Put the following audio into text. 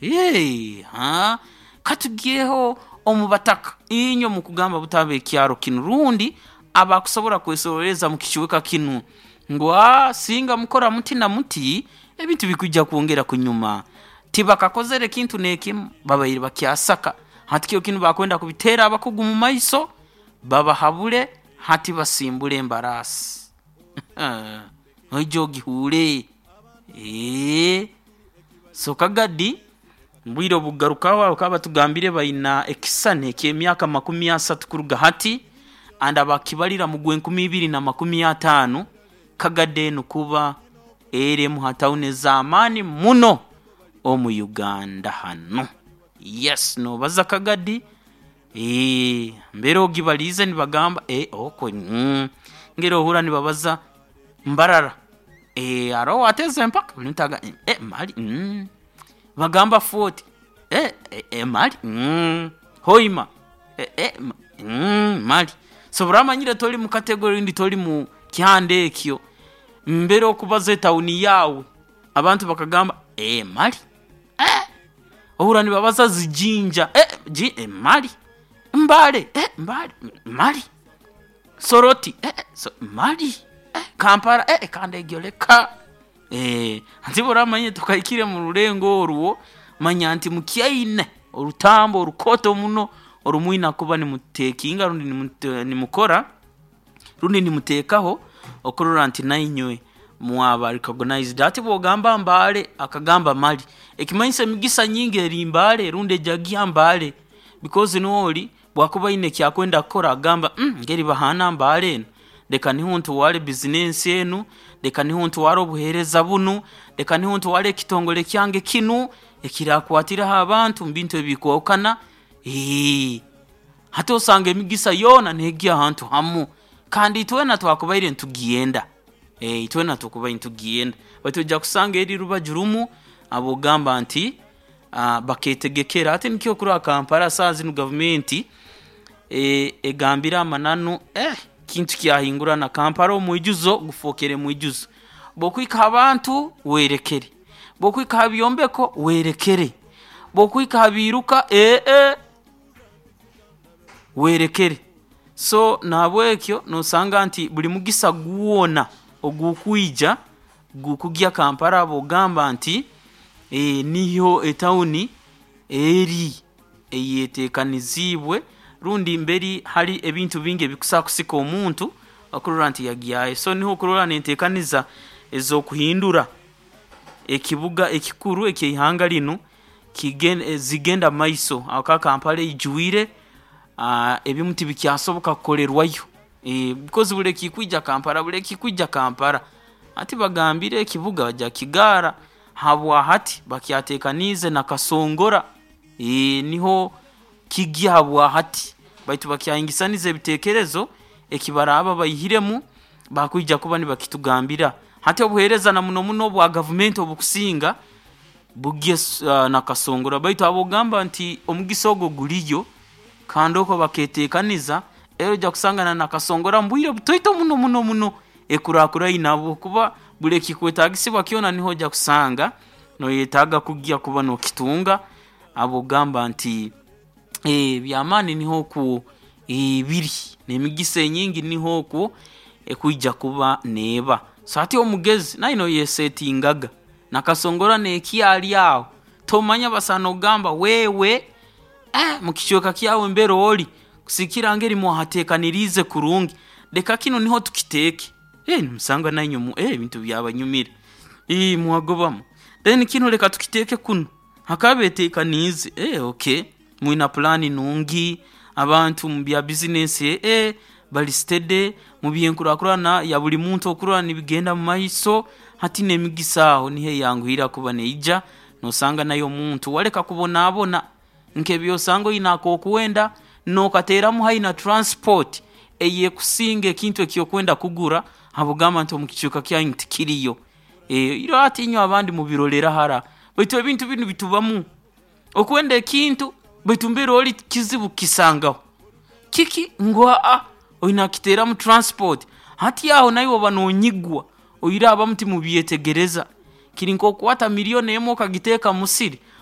Hey, ha katugyeho omu bataka, inywe mukugamba butaba ekyaro kinu rundi abakusobora kwesoroleza mu kicweka kinu ngu singa mukora muti na muti, ebintu bikwija kwongera kunyuma. Tibakakozere kintu n'ekimu, babaire bakyasaka. Hati kiro kinu bakwenda kubiteera abakugu mu maiso, babahabule, hati basimbule embaraasi. Oije ogihuure. So Kagadi obwire obukugarukaho bakaba batugambire baina ekisisani eky'emyaka 30 kuruga hati and bakibalira mu gw'2050 Kagadi enu kuba eri emu ha tawuni ez'amaani muno omu Uganda hanu. Yes, noobaza Kagadi, mbere ogibaliize nibagamba okwe ngeri ohurra nibabaza Mbarara, haroho owateeza empaka buli muntu agamba mali bagamba Fort, mali Hoima, mali. So obu oraaba omanyire tori mu category rundi tori mu kyanda ekyo, mbere okubaza etawuni yaawe abantu bakagamba mali, ohurra nibabaza zi Jinja, mali, Mbale, Mbale mali, Soroti, mali, Kampala, kandi egyo leka. Hati obu oraaba omanyire tokahikire mu rurengo orwo, manya nti mukyaine orutambu orukooto muno oru mwine kuba nimutekinga rundi nimukora rundi nimuteekaho okurora nti nainywe mwaba recognized. Hati obu ogamba Mbale akagamba mali, ekimanyisa emigisa nyingi eri Mbale rundi ejagya Mbale because n'ori obu akuba aine eki akwenda kukora agamba ngeri bahaana Mbale enu, leka niho ntware bizinensi enu, leka niho ntware obuheereza bunu, leka niho ntware ekitongore kyange kinu ekiraakwatiraho abantu omu bintu ebikwahukana. Hati osanga emigisa yoona neegya ahantu hamu kandi itwena twakubaire nitugyenda, itwena twakubaire nitugyenda baitu oija kusanga eri rubaju rumu ab'ogamba nti bakeetegekera. Hati nikyo okurora Kampala saaha zinu gavumenti egambire amananu kintu kyahingurana Kampala omwijuzo gufookere mwijuzo. Obu okuhika ha bantu, weerekere, obu okuhika ha byombeko weerekere, obu okuhika ha biiruka weerekere. So na habwekyo noosanga nti buli mugisa gwona ogukwija gukugya Kampala b'ogamba nti niyo etawuni eri eyeteekaniziibwe rundi mbere hari ebintu bingi ebikusobola kusika omuntu okurora nti yagyayo. So niho okurora n'enteekaniza ez'okuhindura ekibuga ekikuru eky'eihanga linu zigenda mumaiso habwokuba Kampala eijwire, ebimu tibikyasoboka kukolerwayo because buli ekikwija Kampala, buli ekikwija Kampala. Hati bagambire ekibuga baija kukigaara habwahati bakyateekaniize Nakasongola, niho kigya habwahati baitu bakyahingisaniza ebiteekerezo ekibaraaba baihiremu bakwija kuba nibakitugambira. Hati obuheereza na muno muno obwa gavumenti obukusinga bugye Nakasongola baitu habw'okugamba nti omugisa ogu guriyo kandi okwo bakeeteekaniza, era oija kusanga na Nakasongola omu bwire butaito muno muno muno ekuraakuraine habwokuba buli ekikwetaagisibwa kyona niho oija kusanga nooyetaaga kugya kuba nookitunga habw'okugamba nti eby'amaani niho okwo biri n'emigisa enyingi niho okwo ekwija kuba neeba. So hati omugezi naiwe nooyesetingaga, Nakasongola neekyari aho, tomanya basobola n'okugamba wewe mu kicweka kyawe mbere ori kusigikirra ngeri mwahateekaniriize kurungi, leka kinu niho tukiteeke, nimusanga nainywe ebintu byabanyumira, mwagobamu. Then kinu leka tukiteeke kunu, bakaba beeteekaniize, okay mwina pulaani nungi, abantu omu bya bizinensi bari steady, mu by'enkurakurana ya buli muntu okurora nibigenda mumaiso, hati n'emigisa aho niho eyanguhira kuba neija, noosanga nawe omuntu waleka kubonaabona nk'ebi osanga oine ak'okwenda nookateeramu haihi na transport ey'ekusinga ekintu eki okwenda kugura habw'okugamba nti omu kicweka kyanyu tikiriyo. Iro hati inywe abandi mubirolera hara baitu ebintu binu bitubamu. Okwenda ekintu baitu mbere ori kizibu kukisangaho. Kiki? Ngu oine kukiteeramu transport. Hati aho naiwe oba noonyigwa, oihireho abamu timubyetegereza. Kiri nk'okukwata milioni emu okagiteeka mu musiri.